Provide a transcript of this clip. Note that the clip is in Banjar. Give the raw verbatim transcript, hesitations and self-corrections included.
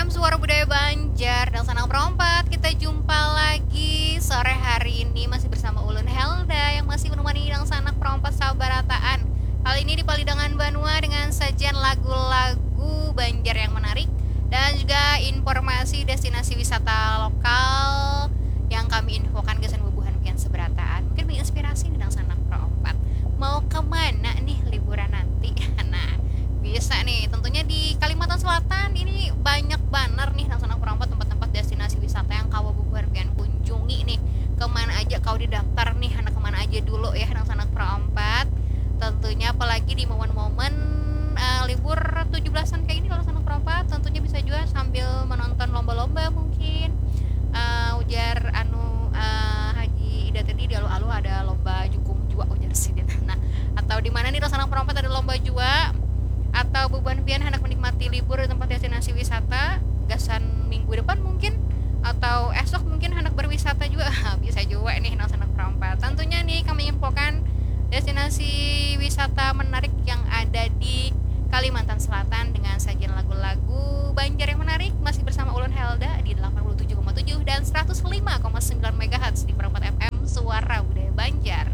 Suara Budaya Banjar, dangsanak perompat, kita jumpa lagi sore hari ini masih bersama ulun Helda yang masih menemani dangsanak perompat sabarataan. Kali ini di Palidangan Banua dengan sajian lagu-lagu Banjar yang menarik dan juga informasi destinasi wisata lokal yang kami infokan gasan bubuhan pian sabarataan. Mungkin menginspirasi nih dangsanak perompat. Mau kemana nih liburan nanti? Nah, bisa nih. Tentunya di Kalimantan Selatan ini banyak banar nih dangsanak perompat tempat-tempat destinasi wisata yang kawa bubuhan pian kunjungi nih. Kemana aja kawa didaftar nih, handak kemana aja dulu ya dangsanak perompat. Tentunya apalagi di momen-momen eh, libur tujuh belasan kayak ini dangsanak perompat, tentunya bisa juga sambil menonton lomba-lomba mungkin. Eh, ujar anu eh, Haji Ida tadi, di aluh-aluh ada lomba jukung jua, ujar sidin. Nah, atau di mana nih dangsanak perompat ada lomba jua, atau bubuhan pian handak menikmati libur di tempat destinasi wisata gasan minggu depan mungkin, atau esok mungkin handak berwisata juga, bisa juga nih dangsanak perompat. Tentunya nih kami infokan destinasi wisata menarik yang ada di Kalimantan Selatan dengan sajian lagu-lagu Banjar yang menarik, masih bersama ulun Helda di delapan puluh tujuh koma tujuh dan seratus lima koma sembilan megahertz di Perempat F M, Suara Budaya Banjar.